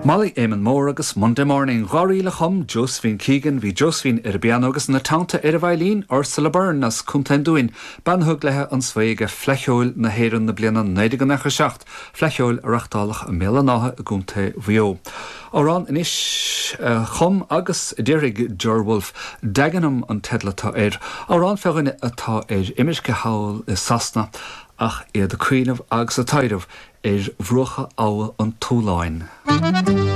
Molly Éamonn Mór agus Monday Morning. Dá ríl a chum Josephine Keegan, bhí Josephine ar an bpianó agus ina teannta ar an veidhlín, Ursula Byrne as Contae an Dúin, bean a thug léi an svae ag Fleadh Cheoil na hÉireann na bliana 1997, Fleadh Cheoil a reachtáladh i mBéal an Átha i gContae Mhaigh Eo. Amhrán anois a chum agus a d'éirigh Ger Wolfe, Dagenham an teideal atá air. Amhrán fé dhuine atá ar imirce thall i Sasana ach iad ag cuimhneamh agus ag taidhreamh ar bhruacha Abha an tSuláin.